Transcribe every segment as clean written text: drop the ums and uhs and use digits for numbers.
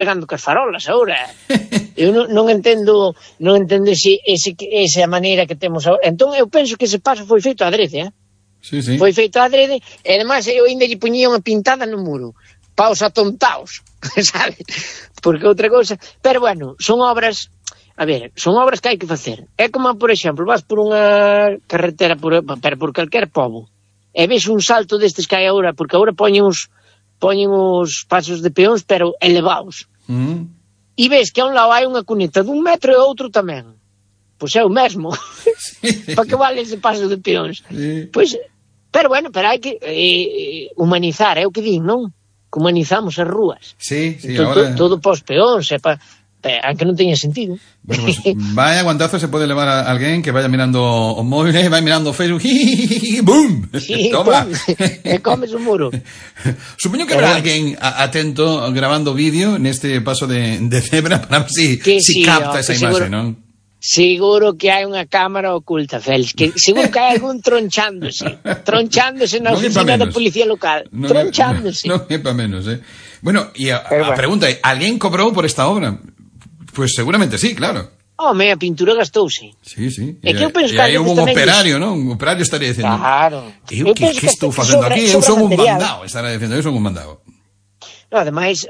pegando cas farolas agora. Eu non entendo esa maneira que temos agora. Entón eu penso que ese paso foi feito adrede, Sí, sí. Foi feito adrede, e ademais eu ainda lle puñía unha pintada no muro. Paos atontaos, sabes? Porque outra cousa... Pero bueno, son obras... A ver, son obras que hai que facer. É como, por exemplo, vas por unha carretera pero por calquer pobo e ves un salto destes que hai agora, porque agora poñen os pasos de peóns, pero elevados. E ves que a un lado hai unha cuneta dun metro e outro tamén. Pois é o mesmo. Sí. Para que vale ese paso de peóns? Sí. Pois, pero bueno, pero hai que humanizar, é o que din, non? Que humanizamos as rúas. Sí, sí, ahora... Todo pos peóns, aunque non teña sentido. Bueno, pues, vaya guantazo se pode levar a alguén que vaya mirando o móvil, vai mirando o Facebook, ¡bum! Sí, toma. E comes o muro. Supoño que habrá alguén atento grabando vídeo neste paso de cebra para ver si capta esa imaxe, non? Seguro que hai unha cámara oculta, Félix, que seguro que hai algún tronchándose na oficina da policía local, tronchándose. Non é pa menos, Bueno, e a pregunta é, alguén cobrou por esta obra? Pues seguramente sí, claro. Home, a pintura gastouse. Sí, sí. E que eu penso que aí houve un operario, non? Un operario estaría dicindo, claro. Eu que estou facendo aquí? Eu son un mandado, estará dicindo, eu son un mandado. No, ademais,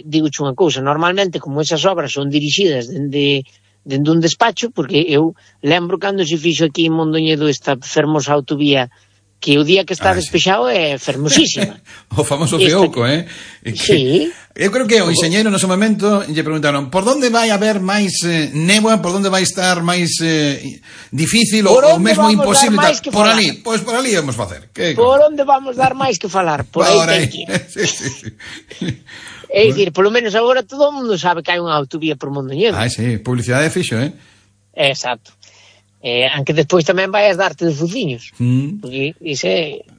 digo unha cousa, normalmente como esas obras son dirixidas dende un despacho, porque eu lembro cando se fixo aquí en Mondoñedo esta fermosa autovía, que o día que está despexado é fermosísima. O famoso Feuco, Sí. Eu creo que o enxeñeiro no seu momento lle preguntaron por onde vai haber máis néboa, por onde vai estar máis difícil ou mesmo imposible. Por ali, pois por ali vamos facer. Por onde vamos dar máis que falar? Por aí ten que ir. Sí. É dicir, polo menos agora todo o mundo sabe que hai unha autovía por Mondoñedo. Sí, publicidade fixo, Exacto. Aunque despois tamén vai a darte de fuciños. Porque iso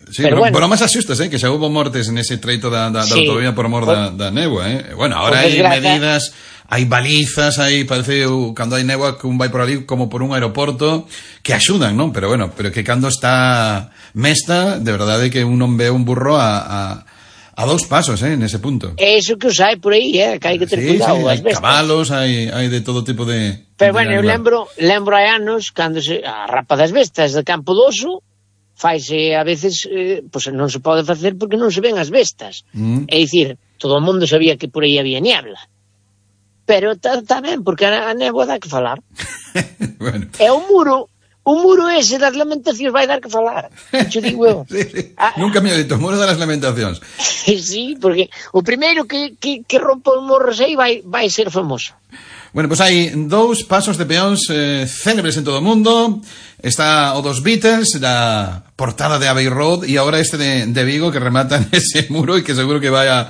sí, pero máis asustas, que xa houve mortes nese treito da autovía por mor da néboa, Bueno, ahora hai medidas, hai balizas, parece cando hai néboa que un vai por ali como por un aeroporto que axudan, non? Pero bueno, pero que cando está mesta, de verdade que un non ve un burro a 2 pasos, nese punto. É iso que os hai por aí, que hai que ter cuidado. Hai cabalos, hai de todo tipo de... Pero bueno, eu lembro hai anos, cando a rapa das bestas de Campo do Oso, faise a veces, pois non se pode facer porque non se ven as bestas. É dicir, todo o mundo sabía que por aí había niebla. Pero tamén, porque a néboa dá que falar. Bueno. É o muro ese das lamentacións vai dar que falar. Xo digo eu. Sí. Nunca me dito, o muro das lamentacións. Sí, porque o primeiro que rompa os morros aí vai ser famoso. Bueno, pues hai 2 pasos de peóns célebres en todo o mundo. Está o dos Beatles, la portada de Abbey Road, e agora este de Vigo que rematan ese muro e que seguro que vai a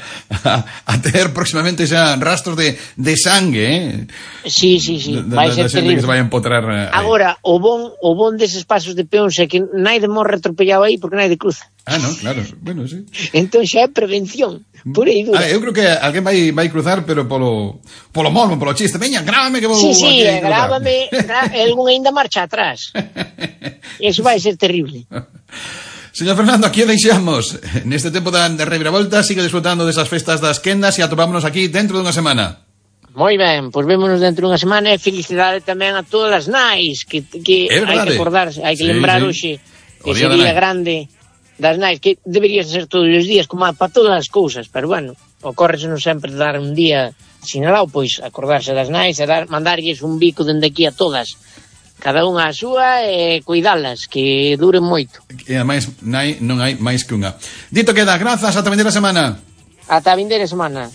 ter próximamente xa rastros de sangue, Sí. Vai ser terrible. Que se vai a empotrar. Agora, o bon deses pasos de peóns é que naide morre atropellado aí porque naide cruza. No, claro, bueno, sí. Entón xa é prevención. Por aí dura. Eu creo que alguén vai cruzar, pero polo mormo, polo chiste. Veña, grábame que vou... Sí, grábame. Algún ainda marcha atrás. Eso vai ser terrible. Señor Fernando, aquí o deixamos. Neste tempo da reviravolta, sigue disfrutando desas festas das quendas e atopámonos aquí dentro dunha semana. Moi ben, pois vémonos dentro dunha semana e felicidade tamén a todas as nais que hai que acordarse, hai que lembrar hoxe ese día grande das nais, que debería ser todos os días como para todas as cousas, pero bueno, ocórrese non sempre dar un día sinalado, pois acordarse das nais e mandarlles un bico dende aquí a todas, cada unha a súa, e cuidalas, que duren moito. E ademais non hai máis que unha. Dito queda, grazas, ata vindeira semana. Ata vindeira semana.